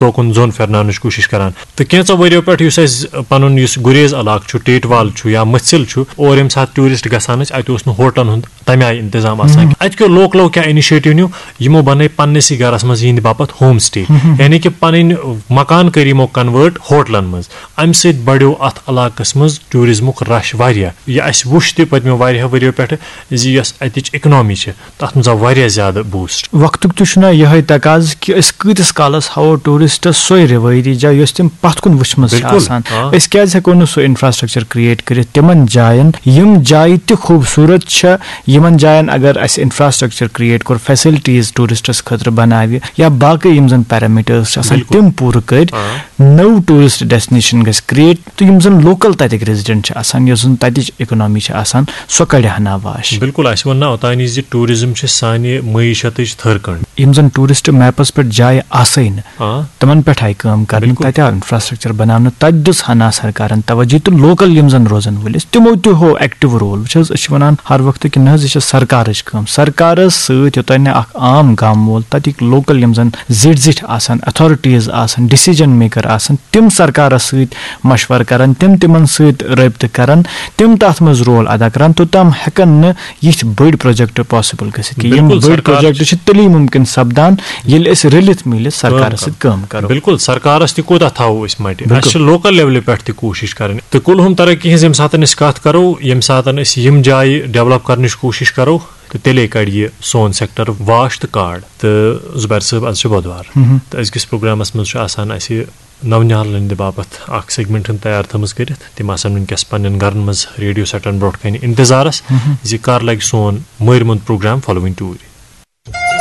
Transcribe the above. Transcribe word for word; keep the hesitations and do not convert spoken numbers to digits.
توکُن زوٚن پھِرناونٕچ کوٗشِش کران۔ تہٕ کینٛژو ؤرِیو پٮ۪ٹھ یُس اَسہِ پَنُن یُس گُریز علاقہٕ چھُ، ٹیٹوال چھُ یا مٔژھِل چھُ، اور ییٚمہِ ساتہٕ ٹوٗرِسٹ گژھان ٲسۍ، اَتہِ اوس نہٕ ہوٹلَن ہُنٛد تَمہِ آیہِ اِنتِظام آسان۔ اَتہِ کیو لوکلو کیٛاہ اِنِشیٹِو نیوٗ؟ یِمو بَنٲے پنٛنِسٕے گَرَس منٛز یِہِنٛدِ باپَتھ ہوم سِٹے، یعنی کہِ پَنٕنۍ مکان کٔرۍ یِمو کَنوٲٹ ہوٹلَن منٛز۔ اَمہِ سۭتۍ بَڑیو اَتھ علاقَس منٛز ٹوٗرِزمُک رَش واریاہ۔ یہِ اَسہِ وُچھ تہِ پٔتمیو واریاہو ؤرِیو پٮ۪ٹھٕ زِ یۄس اَتِچ اِکنامی چھِ، تَتھ منٛز آو واریاہ زیادٕ بوٗسٹ۔ وقتُک تہِ چھُنہ یِہوٚے تقاضہٕ کہِ أسۍ کۭتِس کالَس ہاوو ٹوٗرِسٹَس سۄے رِوٲیتی جاے، یۄس تِم پَتھ کُن وٕچھمٕژ چھِ بِلکُل، آسان۔ آ۔ أسۍ کیٛازِ ہٮ۪کو نہٕ سُہ اِنفراسٹرٛکچَر کِرٛییٹ کٔرِتھ تِمَن جایَن، یِم جایہِ تہِ خوٗبصوٗرت چھےٚ، یِمَن جایَن اگر اَسہِ اِنفراسٹرٛکچَر کِرٛییٹ کوٚر، فیسَلٹیٖز ٹوٗرِسٹَس خٲطرٕ بَناوِ یا باقٕے یِم زَن پیرامِٹٲرٕس چھِ آسان، بِلکُل۔ تِم پوٗرٕ کٔرۍ، آ۔ نٔو ٹوٗرِسٹ ڈیسٹِنیشَن گژھِ کِرٛییٹ، تہٕ یِم زَن لوکَل تَتِکۍ ریزیڈنٹ چھِ آسان، یۄس زَن تَتِچ اِکنامی چھِ آسان، سۄ کَڑِ ہنا واش۔ بِلکُل، اَسہِ ووٚن نہ اوٚتانی زِ ٹوٗرِزم چھِ سانہِ معیشتٕچ تھٔر کٔنٛڈ۔ یِم زَن ٹوٗرِسٹ میپَس پٮ۪ٹھ جایہِ آسَے نہٕ، آ۔ تِمَن پٮ۪ٹھ آیہِ کٲم کَرنہٕ، بِلکُل۔ تَتہِ آو اِنفراسٹرٛکچَر بَناونہٕ، تَتہِ دِژ ہنا سرکارَن توجہ تہٕ لوکَل یِم زَن روزَن وٲلۍ ٲسۍ، تِمو تہِ ہوو ایکٹیو رول۔ وٕچھ حظ، أسۍ چھِ وَنان ہر وقتہٕ کہِ نہ حظ، یہِ چھِ سرکارٕچ کٲم، سرکارَس سۭتۍ یوٚتانۍ نہٕ اَکھ عام گامہٕ وول، تَتِکۍ لوکَل یِم زَن زِٹھۍ زِٹھۍ آسَن، اتھارٹیٖز آسَن، ڈیسیجن میکر آسَن، تِم سرکارَس سۭتۍ مشورٕ کرن، تِم تِمن سۭتۍ رٲبطہٕ کرن، تِم تَتھ منٛز رول ادا کرن، توٚتام ہٮ۪کن نہٕ یِتھۍ بٔڑۍ پروجیکٹ پاسبل گٔژھِتھ کینٛہہ۔ یِم بِلکُل، بٔڑۍ سرکار پروجیکٹ چھِ تیٚلی مُمکِن سپدان، ییٚلہِ أسۍ رٔلِتھ مِلِتھ سرکارَس سۭتۍ کٲم کرو۔ بِلکُل، سرکارَس تہِ کوٗتاہ تھاوو أسۍ مَٹہِ؟ بِلکُل۔ اَسہِ چھِ لوکل لیولہِ پٮ۪ٹھ تہِ کوٗشِش کرٕنۍ۔ تہٕ کُلہُم ترقی ہٕنٛز ییٚمہِ ساتہٕ أسۍ کَتھ کرو، ییٚمہِ ساتہٕ أسۍ یِم جایہِ ڈیولپ کرنٕچ کوٗشِش کرو، تہٕ تیٚلے کَڑِ یہِ سون سیکٹر واش تہٕ کاڈ۔ تہٕ زُبیر صٲب، آز چھُ بۄدوار۔ مہم۔ تہٕ أزکِس پروگرامَس منٛز چھُ آسان اَسہِ نَونِہالَن ہٕنٛدِ باپَتھ اَکھ سیگمنٹ ہُنٛد تیار تھٲومٕژ کٔرِتھ۔ تِم آسَن وٕنکیٚس پنٛنٮ۪ن گَرَن منٛز ریڈیو سیٹَن برونٛٹھ کَنہِ اِنتظارَس مہم۔ زِ کَر لَگہِ سون مٲرۍ مُنٛد پروگرام فالووِنگ ٹوٗرۍ۔